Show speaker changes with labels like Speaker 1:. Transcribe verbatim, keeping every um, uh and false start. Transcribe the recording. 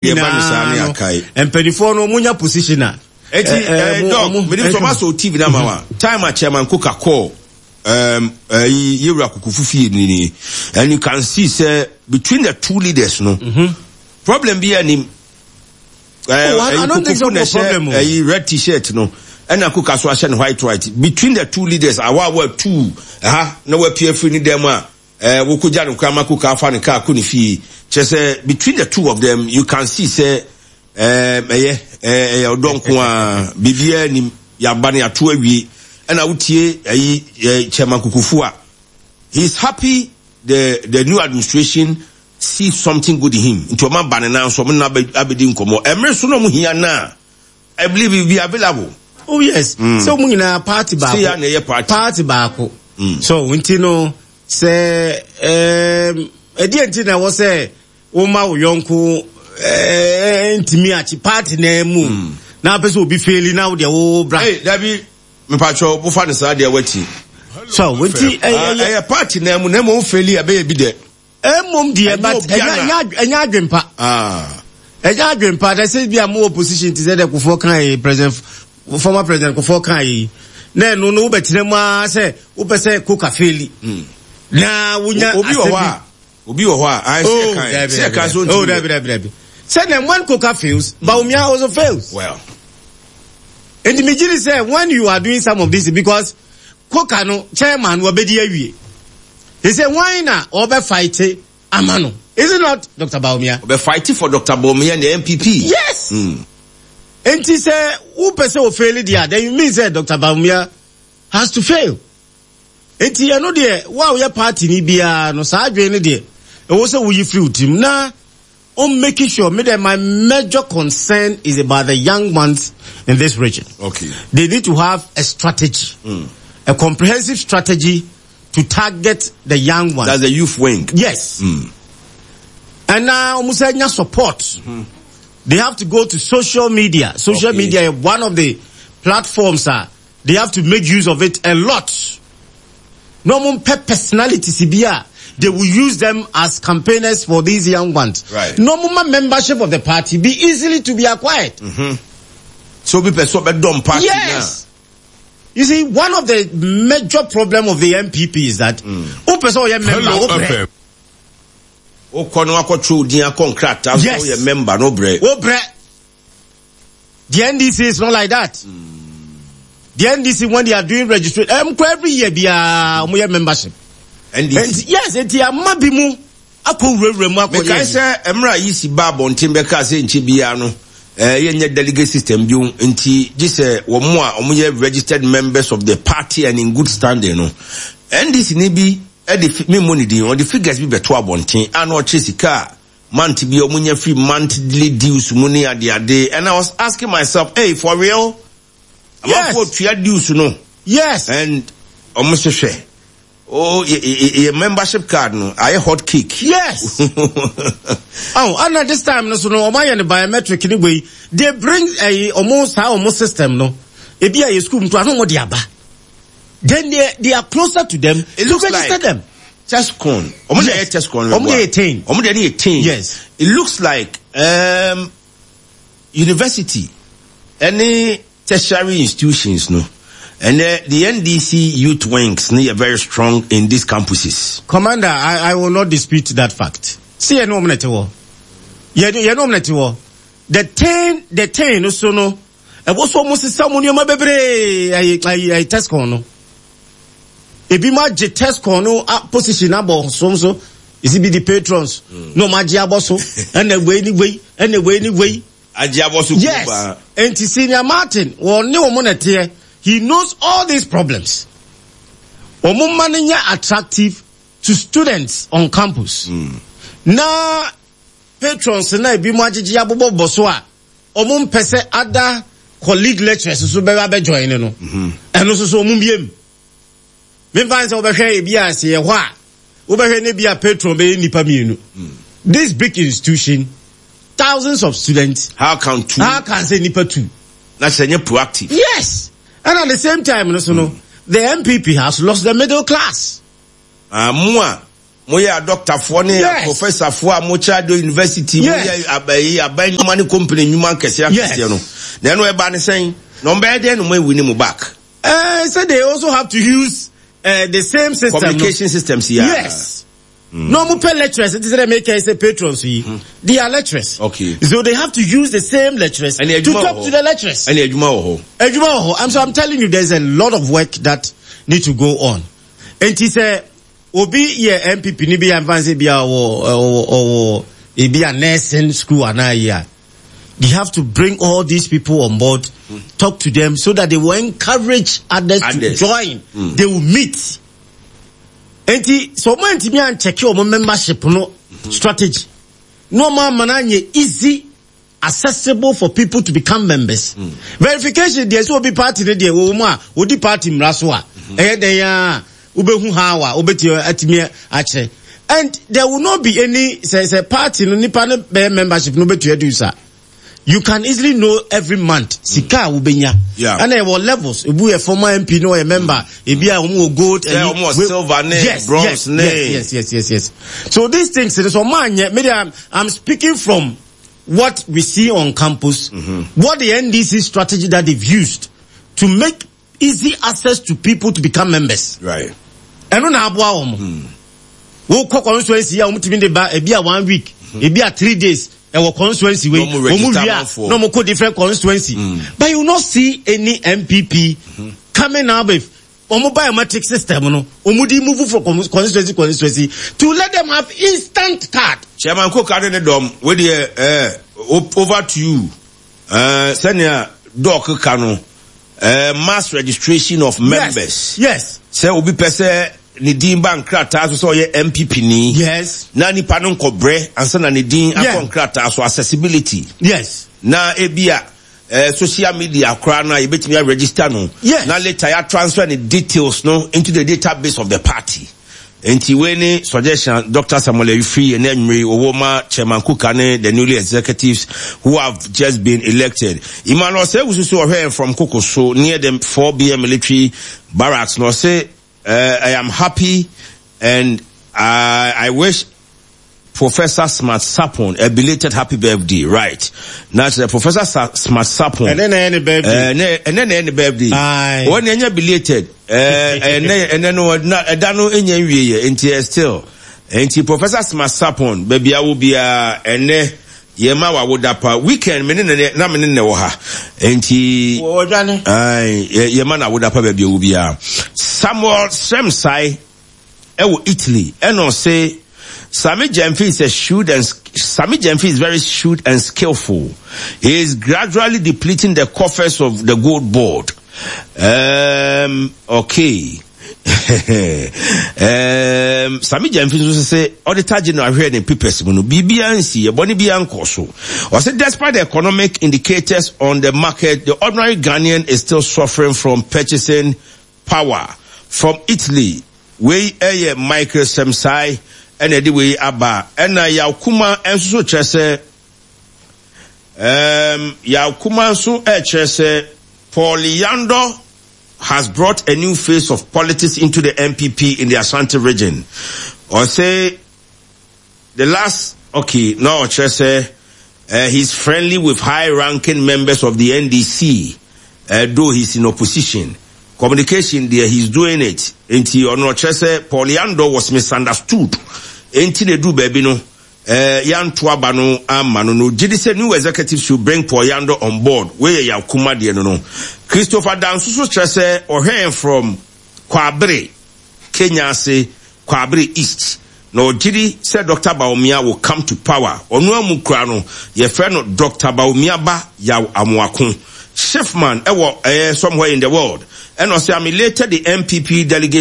Speaker 1: Yɛba no saa ne
Speaker 2: nyinaa no
Speaker 1: akae.
Speaker 2: Mpanimfoɔ no, ɔmo nya position a
Speaker 1: Eti
Speaker 2: eh, eh,
Speaker 1: eh,
Speaker 2: mo-
Speaker 1: dog
Speaker 2: ɔmo-
Speaker 1: mede sɛ ɔba sɛ T V no ama wa time a Chairman Koka kɔɔ um, ɛyi yɛwura Kokofu fie ni ni and you can see sɛ between the two leaders no, problem bi anim.
Speaker 2: Oh, I- I don't think so.
Speaker 1: Kokofu na
Speaker 2: problem o.
Speaker 1: ɛhyɛ ɛyi red T-shirt no, ɛna Koka so ahyɛ no white white. Between the two leaders, awa awa two ɛha na wapue afiri ne dɛm a ɛɛ wokogya no kora ma Koka afa ne kaa kɔ ne fie, kyerɛ sɛ between the two of them, you can see sɛ ɛɛ ɛyɛ ɛɛ ɛyɛ ɔdɔ nko a, biribiara nim. Yaba no yɛato awie, ɛna wotie ɛyi ɛɛ Chairman Kokofu a, he is happy the the new administration see something good in him, nti ɔma ba ne nan so, ɔmo na abɛdi nkɔmɔ ɛmere so na ɔmo hia na I believe he will be available.
Speaker 2: Oh yes, sɛ ɔmo nyinaa party baako.
Speaker 1: Sɛ ya na ɛyɛ party.
Speaker 2: Party baako. So nti no sɛ ɛɛm ɛdeɛ nti na ɛwɔ sɛ woma wo yɔnko ɛɛ ntumi akyi party na mu na apɛ sɛ obi fail na wo deɛ wo bra.
Speaker 1: Hey, dabi, mepatwɛ wofa ne saa deɛ wati.
Speaker 2: So nti
Speaker 1: Ah,
Speaker 2: ɛyɛ
Speaker 1: ɛyɛ party na mu na mu fail a, ɛbɛyɛ bi dɛ.
Speaker 2: Ɛmom deɛ,
Speaker 1: Ɛnyɛ
Speaker 2: but
Speaker 1: obiara
Speaker 2: ɛnyɛ
Speaker 1: na-
Speaker 2: ɛnyɛ ɛnyɛ adwempa.
Speaker 1: Ah.
Speaker 2: Ɛnyɛ adwempa dɛ sɛ bi a mo opposition ti sɛ dɛ Kufuor kan yi, president, former President Kufuor kan yi, na ɛno no wobɛtena mu ara sɛ wopɛ sɛ Koka fail na wonya
Speaker 1: obi wɔ
Speaker 2: asɛm
Speaker 1: hɔ
Speaker 2: bi.
Speaker 1: a obi wɔ hɔ a ayi sɛ
Speaker 2: Oh,
Speaker 1: kan
Speaker 2: dabi,
Speaker 1: sɛ kan so
Speaker 2: dabi. Oh,
Speaker 1: ntumi.
Speaker 2: dabi, dabi, dabi. Sɛ na when Koka fails, Bawumia also fails.
Speaker 1: Well.
Speaker 2: Nti mi gyi sɛ when you are doing some of this, because Koka no chairman wabɛdi awie. They say why na ɔbɛ fight ama no? Is it not Doctor Bawumia?
Speaker 1: Ɔbɛ fight for Doctor Bawumia and the N P P.
Speaker 2: Yes.
Speaker 1: Mm.
Speaker 2: Nti sɛ wopɛ sɛ o fail deɛ, then you mean sɛ Doctor Bawumia has to fail. Nti ɛno deɛ, wo a woyɛ party ni biara no, saa adwene no deɛ, ɛwɔ sɛ woyi firi wo tirim na on making sure me that my major concern is about the young ones in this region.
Speaker 1: Okay.
Speaker 2: They need to have a strategy, a comprehensive strategy to target the young ones.
Speaker 1: That's the youth wing.
Speaker 2: Yes. And now, almost support. They have to go to social media. Social
Speaker 1: Okay.
Speaker 2: media is one of the platforms. Uh, they have to make use of it a lot. No more personalities bi a, they will use them as campaigners for these young ones.
Speaker 1: Right.
Speaker 2: No more membership of the party be easily to be acquired.
Speaker 1: So obi pɛ sɛ ɔbɛdɔm party.
Speaker 2: Yes. You see, one of the major problem of the N P P is that mm. person member,
Speaker 3: Hello
Speaker 2: wo brɛ.
Speaker 3: F M.
Speaker 1: Na wokɔ no akɔtwerɛ wo din akɔ nkrataa so.
Speaker 2: Yes.
Speaker 1: Woyɛ member no brɛ.
Speaker 2: Wo brɛ. The N D C is not like that. The N D C, when they are doing registration, um, every year biara ɔmo yɛ membership.
Speaker 1: N D C.
Speaker 2: And yes, eti ama bi mu akɔ wurawura mu akɔ
Speaker 1: Mekae
Speaker 2: yɛ.
Speaker 1: sɛ mmerɛ a yi si ba abɔnten bɛka sɛ nkyɛ biara no eh, yɛnyɛ delegate system bio, nti gye sɛ wɔn mo a wɔyɛ registered members of the party and in good standing no, N D C ne bi ɛde fi memmɔ ne din, ɔde figures bi bɛto abɔnten a na ɔkyerɛ sika a month bi a wɔn nya free monthly dues mu ne adeade, and I was asking myself, "Hey, for real?"
Speaker 2: Yes.
Speaker 1: Amanfoɔ tua dues no
Speaker 2: Yes.
Speaker 1: and ɔmo hwehwɛ oh yɛ yɛ yɛ membership card no ayɛ hot cake.
Speaker 2: Yes. Oh, and at this time no so no ɔmo ayɛ no biometric ni wei. They bring ɛyi ɔmo saa ɔmo system no. Ebi a yɛ school mu to ano ɔmo de aba. Then they they are closer to them
Speaker 1: It
Speaker 2: to
Speaker 1: looks
Speaker 2: register
Speaker 1: like
Speaker 2: them.
Speaker 1: TESCON. Ɔmo na
Speaker 2: Yes.
Speaker 1: yɛ TESCON.
Speaker 2: Ɔmo de yɛ ten.
Speaker 1: Ɔmo de yɛ ten.
Speaker 2: Yes.
Speaker 1: It looks like um, university any tertiary institutions no, and the, the N D C youth wings no yɛ very strong in these campuses.
Speaker 2: Commander, I, I will not dispute that fact. See, yɛn no ɔmo na ɛte hɔ. Yɛn yɛn no ɔmo na ɛte hɔ. The ten the ten no so no, ɛwɔ so ɔmo sisa ɔmo nneɛma bebree ɛyi ɛyi ɛyi TESCON no. Ebi mo agye TESCON no a position abɔ so so. Esi bi di patrons. Na ɔmo agye abɔ so. Ɛna wei ni wei, ɛna wei ni wei.
Speaker 1: Agye abɔ so.
Speaker 2: Yes.
Speaker 1: Kuba.
Speaker 2: Enti Senior Martin, wɔn ne wɔn na ɛteɛ. He knows all these problems. Wɔn mma no nyɛ attractive to students on campus. Na patrons na ebi mo agyegye abobɔbɔ so a, wɔn mpɛ sɛ other colleague lecturers nso bɛba abɛ join no. Ɛno nso so wɔn mbie mu. Memfa sɛ wobɛhwɛ ebi a sɛ yɛ hɔ a, wobɛhwɛ ne bi a patron bɛyɛ nipa mmienu. This big institution, thousands of students.
Speaker 1: How can two?
Speaker 2: How can say nipa two?
Speaker 1: Na sɛ nyɛ proactive.
Speaker 2: Yes. And at the same time, no, so no, the N P P has lost the middle class.
Speaker 1: Ah, mo a Moyɛ adɔktafoɔ ne
Speaker 2: Yes.
Speaker 1: professorfoɔ a mokyerɛ ade university,
Speaker 2: Yes.
Speaker 1: moyɛ abayi aban nnwuma ne company nnwuma nkɛseɛ akɛseɛ
Speaker 2: Yes.
Speaker 1: no, na ɛno ɛba ne sɛn na ɔmbɛyɛ dɛn no mo awi ne mo back?
Speaker 2: Uh, so they also have to use uh, the same system.
Speaker 1: Communication systems, yeah.
Speaker 2: Yes. No more pay lecturers. It is they make say patrons. Mm. They are lecturers.
Speaker 1: Okay.
Speaker 2: So they have to use the same lecturers
Speaker 1: Ɛne
Speaker 2: to
Speaker 1: adwuma
Speaker 2: talk
Speaker 1: wɔ hɔ.
Speaker 2: to the lecturers.
Speaker 1: Ɛne adwuma wɔ hɔ.
Speaker 2: Adwuma wɔ hɔ. I'm so I'm telling you, there's a lot of work that need to go on. Enti sɛ obi yɛ N P P ni bi a nfa sɛ bi a ɔwɔ ɔwɔ ɔwɔ ebi a nursing school anaa yi a, you have to bring all these people on board, talk to them so that they will encourage others,
Speaker 1: Others.
Speaker 2: to join. They will meet. Enti sɛ ɔmo antumi ankyɛke ɔmo membership no strategy na ɔmo ama no anyɛ easy accessible for people to become members. Verification deɛ, sɛ obi party no deɛ wɔwɔ mu a odi party mmara so a, ɛyɛ dɛn a wobɛhu how a wobɛtumi atumi akyerɛ, and there will not be any sɛ sɛ party no nipa no bɛyɛ membership no wobɛtua dues a, you can easily know every month sika a wobɛnya.
Speaker 1: Yeah.
Speaker 2: Ɛna ɛwɔ levels, ebu yɛ former M P no ɔyɛ member, ebi a wɔn wɔ gold.
Speaker 1: Yeah,
Speaker 2: ɛyi-
Speaker 1: wɔn wɔ
Speaker 2: we-
Speaker 1: silver ne
Speaker 2: yes,
Speaker 1: bronze
Speaker 2: yes,
Speaker 1: ne-
Speaker 2: yes yes yes yes yes So these things, so ɔmo anyɛ, maybe i'm i'm speaking from what we see on campus, what the N D C strategy that they've used to make easy access to people to become members.
Speaker 1: Right.
Speaker 2: Ɛno na aboa wɔn. Wokɔ constituency a, wɔn tumi de ba ebi a one week, ebi a three days, ɛwɔ constituency wei.
Speaker 1: Na wɔn
Speaker 2: Wɔn
Speaker 1: register
Speaker 2: wie a,
Speaker 1: amanfoɔ.
Speaker 2: Na wɔn kɔ different constituency, but you will not see any N P P coming out with wɔn biometric system no, wɔn di move from constituency constituency to let them have instant card.
Speaker 1: Chairman Koka ne ne dɔm, wey deɛ ɛɛ over to you. ɛɛ sɛnea Doc ka no, ɛɛ mass registration of members.
Speaker 2: Yes.
Speaker 1: Sɛ obi pɛ sɛ ne din ba nkrataa so sɛ ɔyɛ N P P ni,
Speaker 2: Yes.
Speaker 1: na nipa no nkɔbrɛ ansa na ne din akɔ
Speaker 2: Yeah.
Speaker 1: nkrataa so, accessibility.
Speaker 2: Yes.
Speaker 1: Na ebi a eh, social media koraa no a yɛbɛtumi aregister no,
Speaker 2: Yes.
Speaker 1: na later yɛ transfer ne details no into the database of the party. Nti wei ne suggestion Doctor Samuel Ayufri yɛ ne anwummere owó ma Chairman Kuka ne the newly executives who have just been elected. Emmanuel Sewusu so ɔhwɛ from Koko so near the four B M military barracks na ɔsɛ, uh, "I am happy and I, I wish Professor Smart Sarpong a belated happy birthday." Right. Now, Professor Sa- Smart Sarpong.
Speaker 2: Ɛnɛ na ɛyɛ ne birthday.
Speaker 1: Ɛnɛ ɛnɛ na ɛyɛ ne birthday.
Speaker 2: Aye.
Speaker 1: Wɔn na ɛnyɛ belated. Ɛɛ ɛnɛ ɛnɛ no na ɛda no ɛnyɛ nwie yɛ, nti ɛ still. Nti Professor Smart Sarpong, baabi awo biara, ɛnɛ yɛ ma wa woda pa weekend me ne ne na me ne ne wɔ ha. Nti
Speaker 2: Wɔdwane.
Speaker 1: Ayi, yɛ yɛ ma na awoda pa baabi awo biara. Samuel Sremsai ɛwɔ Italy, ɛna ɔse Sammy Gyamfi is a shrewd and Sammy Gyamfi is very shrewd and skillful. He is gradually depleting the coffers of the Gold Board. Um, okay. um, Sammy Gyamfi nso sɛ Auditor General ahwɛ ne papers mu no, biribiara nsi ɛbɔne biara nkɔ so. Ɔsɛ despite the economic indicators on the market, the ordinary Ghanaian is still suffering from purchasing power. From Italy, wei ɛyɛ Michael Semsai ɛna ɛde wei aba. Ɛna Yawkuma nso so kyerɛ sɛ um, Yawkuma nso ɛkyerɛ sɛ Paul Yando has brought a new face of politics into the N P P in the Ashanti Region. Ɔsɛ the last, okay, na ɔkyerɛ sɛ uh, he's friendly with high-ranking members of the N D C, uh, though he's in opposition. Communication there, he's doing it. Nti ɔno ɔkyerɛ sɛ Paul Yando was misunderstood. Nti na edu baabi no, uh, yanto aba no ama no no. Gye di sɛ new executives should bring Paul Yando on board. Wei yɛ Yakuma deɛ no no. Christopher Danso so kyerɛ sɛ ɔhwɛn from Kwabere, Kenya ase, Kwabere East. Na ɔgye di sɛ Doctor Bawumia will come to power. Ɔno amu kura no, yɛfrɛ no Doctor Bawumia ba Yaw Amoako. Schiffman ɛwɔ ɛyɛ somewhere in the world. Ɛna ɔsɛ I'm elated the N P P delegates